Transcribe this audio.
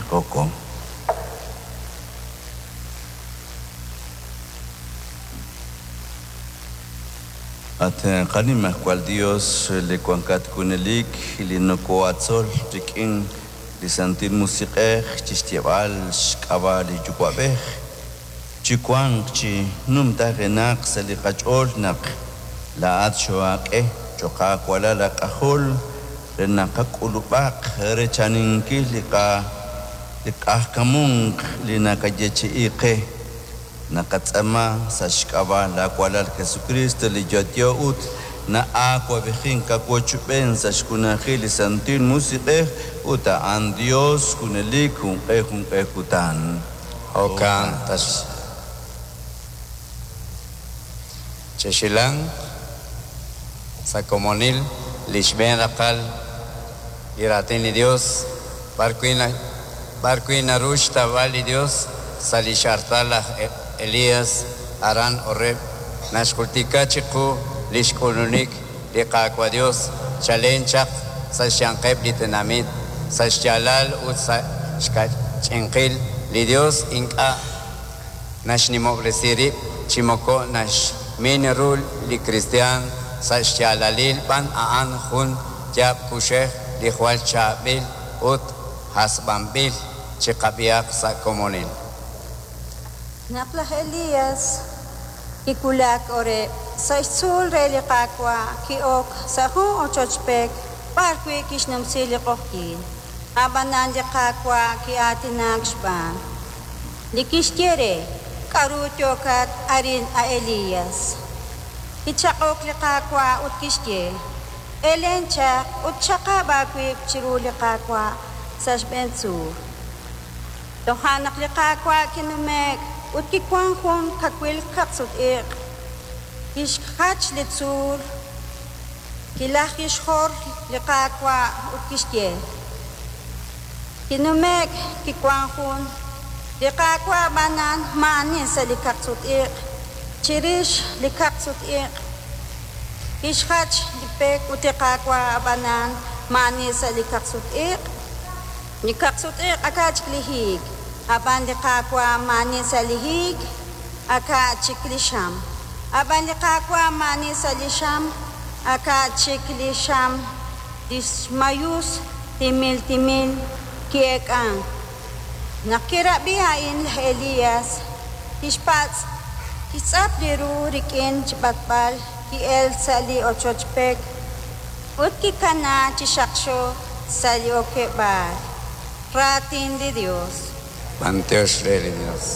Tijoko. At qanimajwal Dios li wankat junelik li nokohatzol rik'in li Santil Musiq'ej chi xyeeb'al xk'ab'a' li Yuwa'b'ej, chiwanq chi numtajenaq sa' li qach'ool naq laa'at xoohaak'e cho'q aawalal aak'ajol re naq qak'ulub'aq rechaninkil li q'ajkamunk li nakayeechi'i qe. Naqatz'aama sa' xk'ab'a' laawalal Jesukriist li yo'yo ut na'awab'ejink awochb'een sa' xjunajil li Santil Musiq'ej ut a'an Yos junelik junq'e junq'e kutan. Jo'kan taxaq. Chexilanq sa' komonil li xb'een raqal li Raatin li Yos, b'arwi' naru xtawb'al li Yos sa' li x'artal laj Elías aran Horeb, naxjultika chiqu li xk'ulunik li Qaawa' Yos chalen chaq sa' xyanqeb' li tenamit, sa' xyaalal ut sa' xkach'inqil. Li Yos ink'a' naxnimob'resi rib' chi moko naxmin ru li kristiyan, sa' xyaalalil b'an a'an jun yaab' kuxej li jwal chaab'il ut hasb'anb'il. Chiqab'ihaq sa' komonil. Naq laj Elías kiwulak Horeb, sa' xtzuul re li Qaawa', ki'ok sa' jun ochoch pek b'arwi' kixnumsi li q'oqyink. Ab'anan li Qaawa' ki'aatinak xb'aan, li kixye re, K'aru yookat arin, a Elías? Kichaq'ok li Qaawa' ut kixye, Elen chaq ut xaqab' aawib' chiru li Qaawa' sa' xb'een tzuul. Toja' naq li Qaawa' kinume'k ut kiwank jun kawil kaqsut-iq', kixjach li tzuul, kilajkixjor li Qaawa' ut kixye, Kinume'k kiwank jun li Qaawa' ab'anan maa'ani sa' li kaqsut-iq'. Chirix li kaqsut-iq' kixjach li pek ut li Qaawa' ab'anan maa'ani sa' li kaqsut-iq'. Li kaqsut-iq' aka' chik li hiik, ab'an li Qaawa' maa'ani sa' li hiik, aka' chik li xam. Ab'an li Qaawa' maa'ani sa' li xam, aka' chik li xam li xmayus timil timil ki'eek'ank. Naq kirab'i a'in laj Elías, kixpatz', kixtz'ap li ru rik'in xb'atb'al, ki'elk sa' li ochoch pek ut kikanaak chi xaqxo sa' li okeb'aal. Raatin li Yos. B'anyox re li Yos.